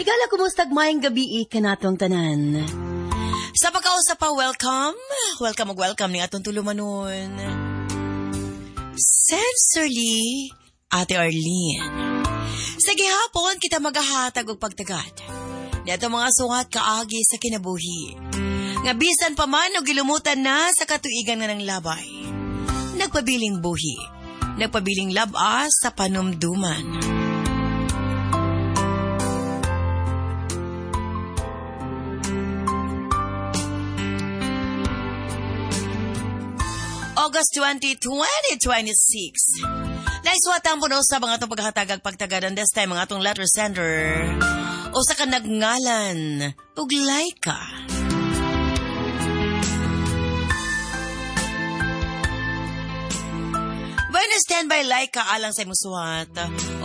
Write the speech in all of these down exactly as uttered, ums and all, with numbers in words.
Higala, kumustag maayong gabi kanatong tanan. Sa pagkausa pa, welcome. Welcome ug welcome ni atong tulumanon. Sincerely, Ate Arlene. Sa gihapon, kita maghahatag og pagtagad. Ni atong mga suwat kaagi sa kinabuhi. Nga bisan pa man og gilumutan na sa katuigan nga ng labay. Nagpabiling buhi. Nagpabiling labas sa panumduman. August twenty, twenty twenty-six. Naiswatan po no sa mga itong paghatagag pagtagadan this time ang atong letter sender. O sa ka nagngalan, ug Laika. Bueno, stand by Laika alang sa imong suwat.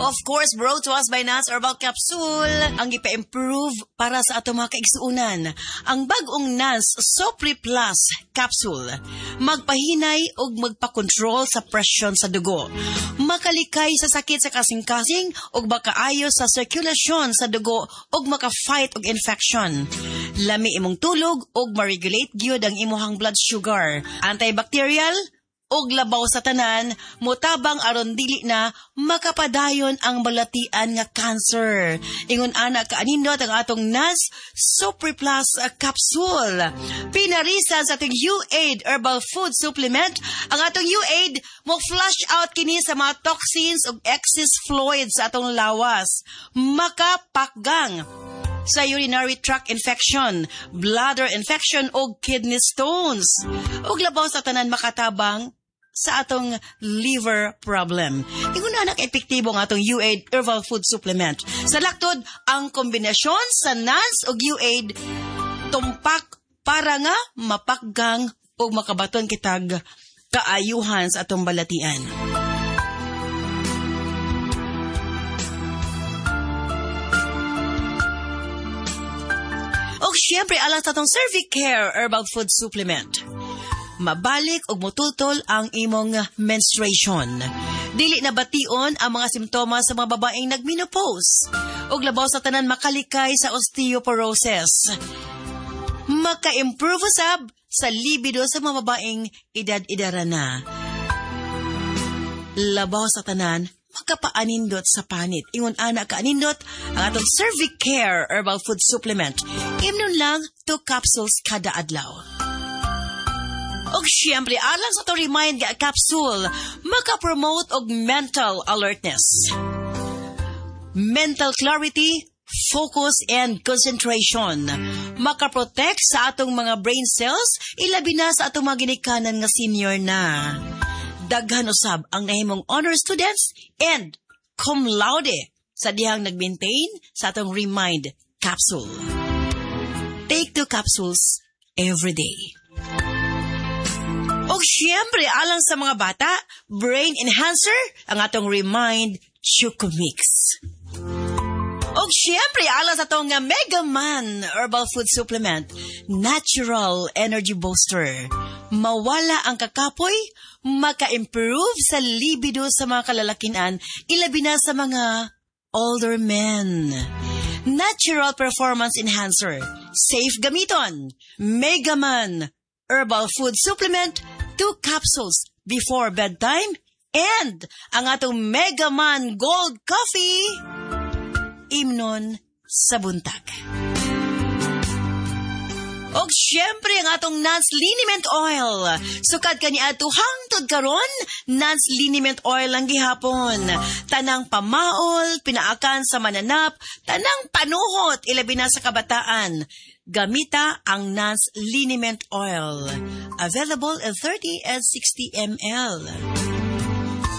Of course, brought to us by Nance Herbal Capsule, ang ipa-improve para sa atong mga kaigsuonan. Ang bag-ong Nance Sopri Plus Capsule. Magpahinay og magpa-control sa presyon sa dugo. Makalikay sa sakit sa kasing-kasing og makaayo sa sirkulasyon sa dugo og maka-fight og infection. Lami imong tulog og ma-regulate gyud ang imong blood sugar. Antibacterial og labaw sa tanan, motabang aron dili na makapadayon ang balatian nga cancer. Ingon ana kaanindot ang atong Nance Sopri Plus Capsule. Pinarisan sa atong U-Aid Herbal Food Supplement, ang atong U-Aid mo flush out kini sa mga toxins ug excess fluids sa atong lawas. Makapakgang sa urinary tract infection, bladder infection o kidney stones. Ug labaw sa tanan makatabang sa atong liver problem. Ingon na epektibo ang atong U-Aid Herbal Food Supplement. Sa laktod, ang kombinasyon sa Nance ug U-Aid tumpak para nga mapakgang o makabaton kitag kaayuhan sa atong balatian. Og siyempre, alang sa atong Cervicare Herbal Food Supplement. Mabalik og mutultol ang imong menstruation. Dili na bation ang mga simptomas sa mga babaeng nagmenopause. Og labaw sa tanan makalikay sa osteoporosis. Maka-improve usab sa libido sa mga babaeng edad-edara na. Labaw sa tanan, makapaanindot sa panit. Ingon ana kaanindot ang atong Cervicare Herbal Food Supplement. Imnon lang two capsules kada adlaw. Og siyempre, alang sa to Remind nga capsule, maka-promote og mental alertness, mental clarity, focus and concentration. Maka-protect sa atong mga brain cells, ilabi na sa atong mga ginikanan nga senior na. Daghan usab ang nahimong honor students and cum laude sa dihang nag-maintain sa atong Remind capsule. Take two capsules every day. Og siyempre, alang sa mga bata, brain enhancer ang atong Remind Chocomix. Og siyempre, alang sa atong Mega Man Herbal Food Supplement, natural energy booster. Mawala ang kakapoy, maka-improve sa libido sa mga kalalakian, ilabi na sa mga older men. Natural performance enhancer, safe gamiton. Mega Man Herbal Food Supplement, two capsules before bedtime, and ang atong Mega Man Gold Coffee, imnon sa buntag. Og syempre ang atong Nance Liniment Oil. Sukad kani ato hangtod karon, Nance Liniment Oil ang gihapon. Tanang pamaol, pinaakan sa mananap, tanang panuhot, ilabi na sa kabataan. Gamita ang Nance Liniment Oil. Available in thirty and sixty milliliters.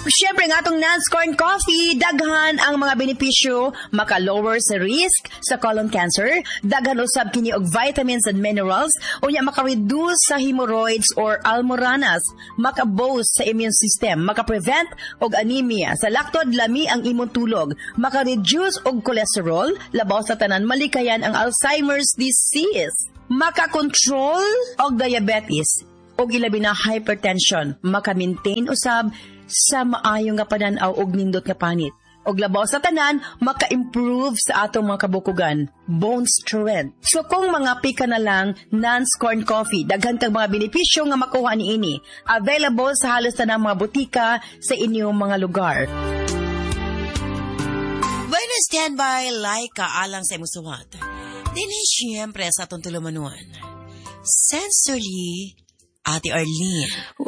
Siyempre nga atong Nance Corn Coffee, daghan ang mga benepisyo, maka-lower sa risk sa colon cancer, daghan usab kini og vitamins and minerals, unya maka-reduce sa hemorrhoids or almoranas, maka-boost sa immune system, maka-prevent og anemia, sa laktod lami ang imong tulog, maka-reduce og cholesterol, labaw sa tanan malikayan ang Alzheimer's disease, maka-control og diabetes, og ilabi na hypertension, maka-maintain usab sa maayo nga panan-aw og nindot nga panit. Og labaw sa tanan, maka-improve sa atong mga kabukugan, bone strength. So kung mga ka na lang, Nance Corn Coffee, daghan kag mga benepisyo nga makuha niini. Available sa halos tanang mga botika sa inyong mga lugar. Bueno, standby like ka alang sa imong suwat. Dili siyempre sa atong tulumanon. Sensory, Ate Arlene.